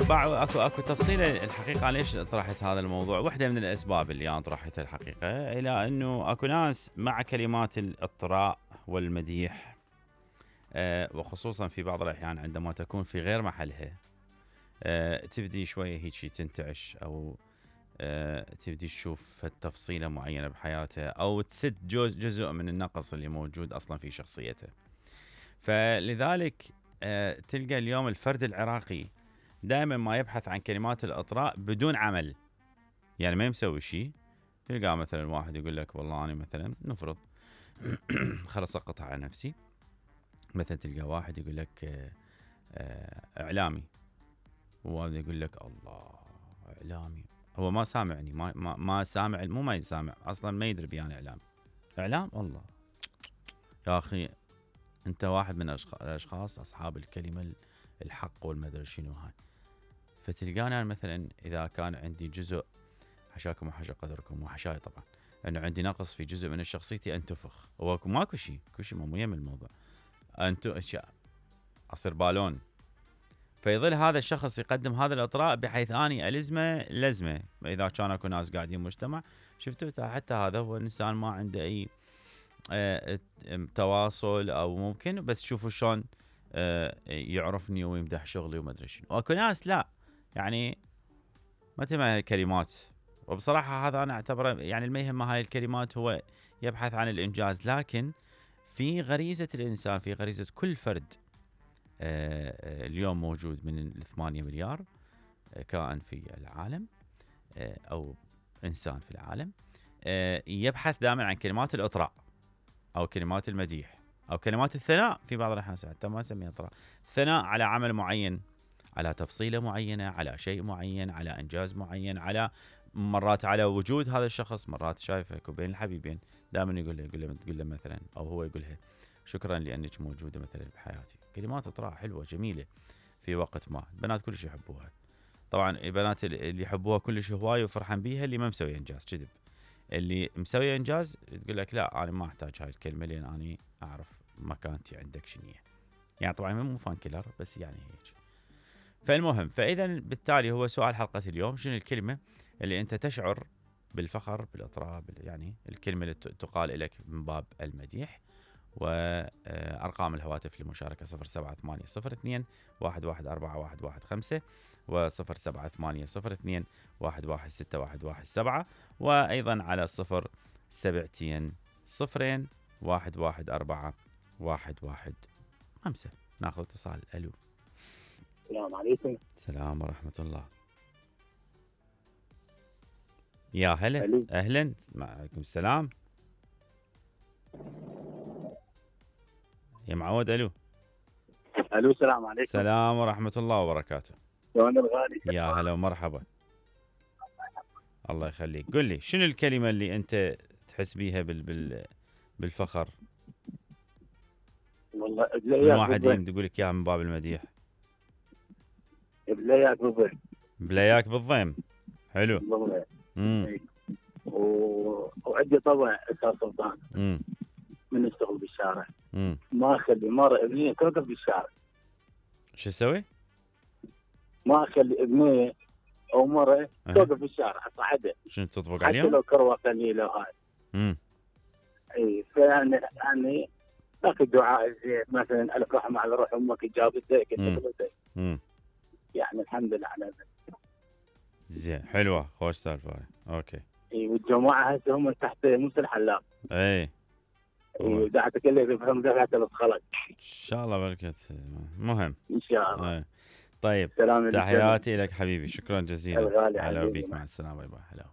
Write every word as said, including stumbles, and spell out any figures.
باع اكو اكو تفصيله الحقيقه ليش طرحت هذا الموضوع. واحده من الاسباب اللي انا طرحتها الحقيقه الى انه اكو ناس مع كلمات الاطراء والمديح، أه وخصوصا في بعض الاحيان عندما تكون في غير محلها، أه تبدي شويه هيك تنتعش، او أه تبدي تشوف تفصيله معينه بحياتها، او تسد جزء من النقص اللي موجود اصلا في شخصيته. فلذلك أه تلقى اليوم الفرد العراقي دائما ما يبحث عن كلمات الاطراء بدون عمل، يعني ما مسوي شيء. تلقى مثلا واحد يقول لك والله انا مثلا نفرض خلص اقطع على نفسي. مثلا تلقى واحد يقول لك اعلامي، وهذا يقول لك الله اعلامي، هو ما سامعني، ما ما, ما سامع، مو ما يسامع اصلا، ما يدري بيان اعلام. اعلام الله يا اخي، انت واحد من الاشخاص اصحاب الكلمه الحق والمدري شنو هاي. فتلقانا أنا مثلا اذا كان عندي جزء، حشاكم وحشا قدركم وحشاي طبعا، انه عندي نقص في جزء من شخصيتي، انتفخ. هو ماكو شيء، كل شيء مو يم الموضوع، انتو اشياء اصير بالون. فيظل هذا الشخص يقدم هذا الاطراء بحيث اني الزمه لزمه. اذا كان اكو ناس قاعدين مجتمع، شفتوا حتى هذا هو انسان ما عنده اي اه تواصل، او ممكن بس شوفوا شلون اه يعرفني ويمدح شغلي وما ادري شنو. واكو ناس لا، يعني ما تهم كلمات. وبصراحه هذا انا اعتبره يعني المهم هاي الكلمات هو يبحث عن الانجاز، لكن في غريزه الانسان، في غريزه كل فرد آه اليوم موجود من الثمانية مليار آه كائن في العالم، آه او انسان في العالم، آه يبحث دائما عن كلمات الاطراء، او كلمات المديح، او كلمات الثناء. في بعض الاحيان حتى ما نسميها اطراء، ثناء على عمل معين، على تفصيله معينه، على شيء معين، على انجاز معين، على مرات على وجود هذا الشخص. مرات شايفك وبين الحبيبين دائما يقول له يقول له تقول له مثلا، او هو يقول لها شكرا لانك موجوده مثلا بحياتي. كلمات اطراء حلوه جميله في وقت ما، البنات كلش يحبوها. طبعا البنات اللي يحبوها كلش هواي وفرحان بيها اللي ما مسوي انجاز كذب. اللي مسوي انجاز تقول لك لا انا ما احتاج هاي الكلمه لان انا اعرف مكانتي عندك شنو هي. يعني طبعا مو فان كيلر، بس يعني هيك. فالمهم، فاذا بالتالي هو سؤال حلقه اليوم، شنو الكلمه اللي انت تشعر بالفخر بالاطراء، يعني الكلمه اللي تقال لك من باب المديح. وارقام الهواتف للمشاركه صفر سبعة ثمانية صفر اثنين واحد واحد أربعة واحد واحد خمسة وصفر سبعة ثمانية صفر اثنين واحد واحد ستة واحد واحد سبعة، وايضا على صفر سبعتين صفرين واحد واحد أربعة واحد واحد خمسة. ناخذ اتصال. الو. السلام عليكم. السلام ورحمه الله. يا هلا. ألو. اهلا. وعليكم السلام يا معود. الو. الو السلام عليكم. السلام ورحمه الله وبركاته. شلون الغالي؟ يا هلا ومرحبا. الله يخليك. قل لي شنو الكلمه اللي انت تحس بيها بال بال بالفخر؟ والله من واحد يقول لك اياها من باب المديح. بلاياك بالضيم. بلاياك بالضيم. حلو. بالضيم. امم و... وعندي طبع استاذ سلطان. امم من اشتغل بالشارع. امم ما اخلي مره ابنيه توقف بالشارع. شو اسوي؟ ما اخلي ابنيه او مره توقف بالشارع اصعدها. شنو تطبق عليهم؟ حتى لو كروه قليله وهاي. امم اي فانا يعني اخذ دعاء زين، مثلا الف رحمه على روح امك جابتك كتبتك. امم يعني الحمد لله على ذلك. زين. حلوه. خوش سالفه هاي. اوكي. اي والجماعه هسه هم تحت موسى الحلاق. اي اي دعتك اللي يفهم دفعه الخلق. ان شاء الله بركه. مهم ان شاء الله. اي. طيب، تحياتي لك حبيبي، شكرا جزيلا. الغالي هلا حبيبي. بيك، مع السلامه. باي باي. هلا.